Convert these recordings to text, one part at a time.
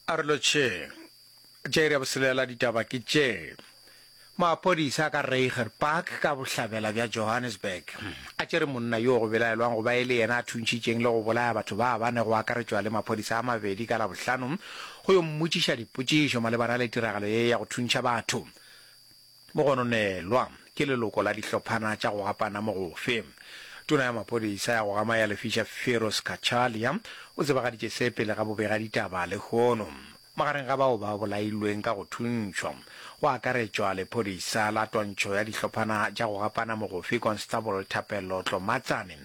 A re lotšheng. Tša iri ya boselela ditaba ke tše. Maphodisa a ka Reiger Park ka bohlabela bja Johannesburg a tšere monna yo go belaelwang go ba e le yena a thuntšhitšeng le go bolaya batho ba bane go akaretšwa le maphodisa a mabedi ka Labohlano go yo mmotšiša dipotšišo malebana le tiragalo ye ya go thuntšha batho. Mogononelwa ke leloko la dihlophana tša go gapana mogofe. Tona ya maphodisa ya go gama ya lefiša Firoz Cachalia o tsebagaditše se pele ga bobegaditaba lehono. Magareng ga bao ba bolailweng ka go thuntšhwa go akaretšwa lephodisa la twantšho ya dihlophana tša go gapana mogofe Constable Thapelo Tlomatsane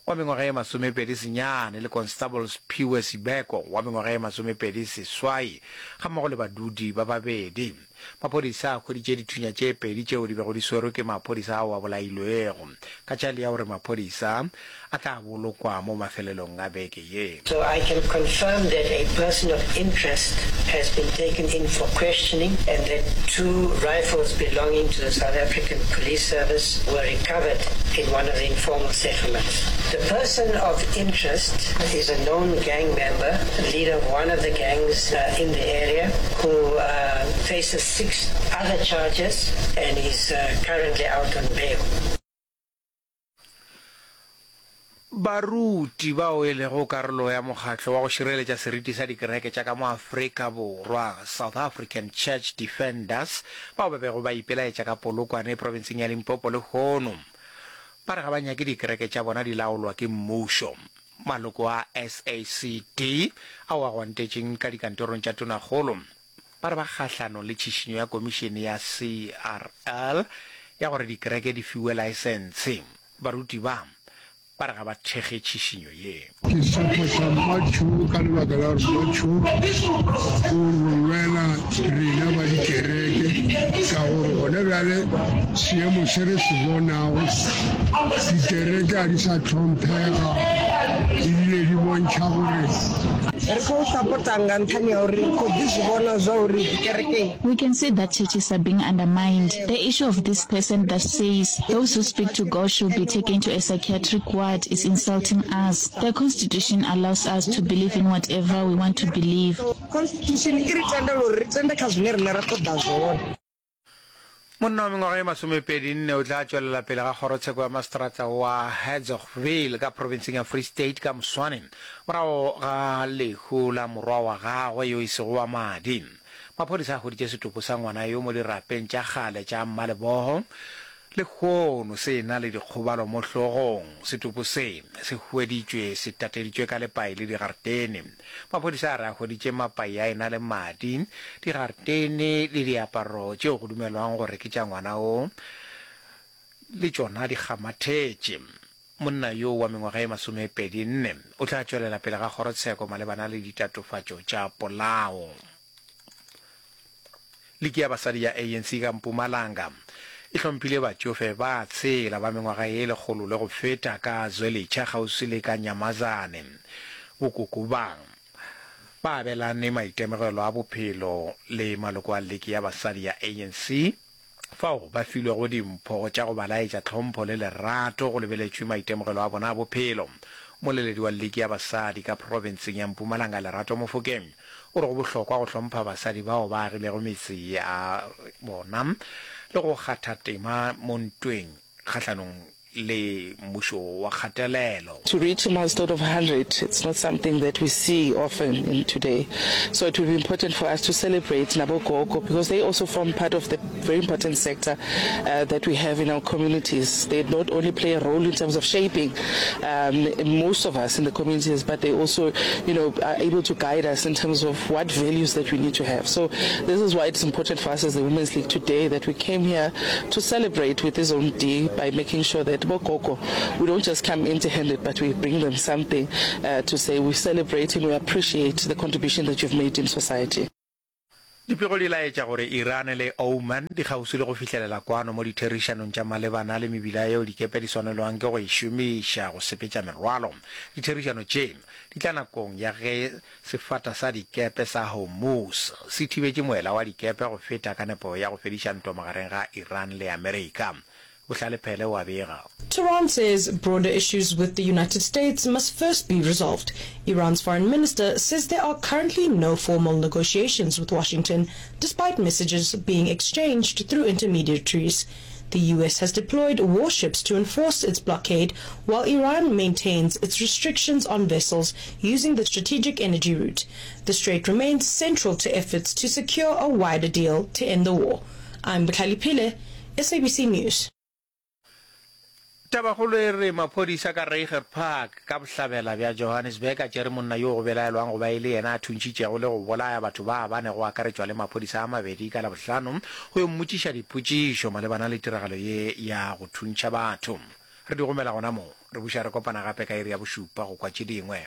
wa mengwaga ye masomepedi senyane le Constable Sphiwe Sibeko wa mengwaga ye masomepedi seswai gammogo le badudi ba babedi. Maphodisa a hweditše dithunya tše pedi tšeo di bego di swerwe ke maphodisa ao a bolailwego. Cachalia o re maphodisa a tla bolokwa mo mafelelong a beke ye. So I can confirm that a person of interest has been taken in for questioning and that two rifles belonging to the South African Police Service were recovered in one of the informal settlements. The person of interest is a known gang member, leader of one of the gangs uh, in the area, who uh, faces six other charges and is uh, currently out on bail. Baruti bao e lego karolo ya mokgatlo wa go šireletša seriti sa dikereke tša ka mo Afrika Borwa, South African Church Defenders, bao ba bego ba ipelaetša ka Polokwane profenseng ya Limpopo lehono ba re ga ba nyake dikereke tša bona di laolwa ke mmušo. Maloko a SACD ao a gwantetšeng ka dikantorong tša Tonakgolo ba re ba kgahlanong le tšhišinyo ya komišene ya CRL ya gore dikereke di fiwe laesentshe. Baruti ba ba re ga ba thekge tšhišinyo ye. Ke support-a Mmatšhuu ka lebaka la gore Mmatšhuu o re lwela rena ba dikereke ka gore gona bjale seemo se re se bonago dikereke ga di sa hlomphega ebile di bontšha gore Ri khou sapota nga nṱhani ha uri ri khou ḓi zwi vhona zwa uri dzikerekeni We can see that churches are being undermined. The issue of this person that says those who speak to God should be taken to a psychiatric ward is insulting us. The constitution allows us to believe in whatever we want to believe. Constitution i ri tendela uri ri tende kha zwine riṋe ra ṱoḓa zwone. Monna wa mengwaga ye masomepedi-nne o tla tšwelela pele ga kgorotsheko ya maseterata wa Hertzogville ka profenseng ya Free State ka moswane morago ga lehu la morwa wa gagwe yo e sego wa madi. Maphodisa a hweditše setopo sa ngwana yo mo dirapeng tša kgale tša Mmalebogo lehono se na le dikgobalo mo hlogong. Setopo se se hweditšwe se tateditšwe ka lepai le digaretene. Maphodisa a re a hweditše mapai a e-na le madi, digaretene le diaparo tšeo go dumelwang gore ke tša ngwana wo le tšona di kgamathetše. Monna yo wa mengwaga e masomepedi-nne o tla tšwelela pele ga kgorotsheko malebana le ditatofatšo tša polao. Liki ya basadi ya ANC ka Mpumalanga e hlomphile batšofe ba tshela ba mengwaga ye lekgolo le go feta ka Zwelitsha kgauswi le ka Nyamazane. Bokoko ba ba abelane maitemogelo a bophelo le maloko a liki ya basadi ya ANC fao ba filwego dimpho tša go ba laetša tlhompho le lerato go lebeletšwe maitemogelo a bona a bophelo. Mmoleledi wa Liki ya Basadi ka profenseng ya Mpumalanga Lerato Mofokeng o re go bohlokwa go hlompha basadi bao ba agilego metse ya bona le go kgatha tema mo ntweng kgahlanong le mmušo wa kgatelelo. To reach a milestone of 100, it's not something that we see often in today. So it will be important for us to celebrate nabo gogo because they also form part of the very important sector uh, that we have in our communities. They not only play a role in terms of shaping um, most of us in the communities, but they also, you know, are able to guide us in terms of what values that we need to have. So this is why it's important for us as the Women's League today that we came here to celebrate with his own day by making sure that bogogo, we don't just come empty-handed, but we bring them something uh, to say we're celebrating, we appreciate the contribution that you've made in society. Dipego di laetša gore Iran le Oman di kgauswi le go fihlelela kwano mo ditherišanong tša malebana le mebila yeo dikepe di swanelwang ke go e šomiša go sepetša merwalo. Ditherišano tše di tla nakong ya ge Sefata sa dikepe sa Hormuz se thibetše moela wa dikepe go feta ka nepo ya go fediša ntwa magareng ga Iran le Amerika. Bohlale Phele o a bega. Tehran says broader issues with the United States must first be resolved. Iran's foreign minister says there are currently no formal negotiations with Washington, despite messages being exchanged through intermediaries. The US has deployed warships to enforce its blockade, while Iran maintains its restrictions on vessels using the strategic energy route. The strait remains central to efforts to secure a wider deal to end the war. I'm Botlhale Phile, SABC News. Tabakgolo e re maphodisa ka Reiger Park ka bohlabela bja Johannesburg a tšere monna yo go belaelwang go ba e le yena a thuntšhitšego le go bolaya batho ba bane go akaretšwa le maphodisa a mabedi ka Labohlano go yo mmotšiša dipotšišo malebana le tiragalo ye ya go thuntšha batho. Re di gomela gona mo. Re buša re kopana gape ka iri ya bošupa go kwa tše dingwe.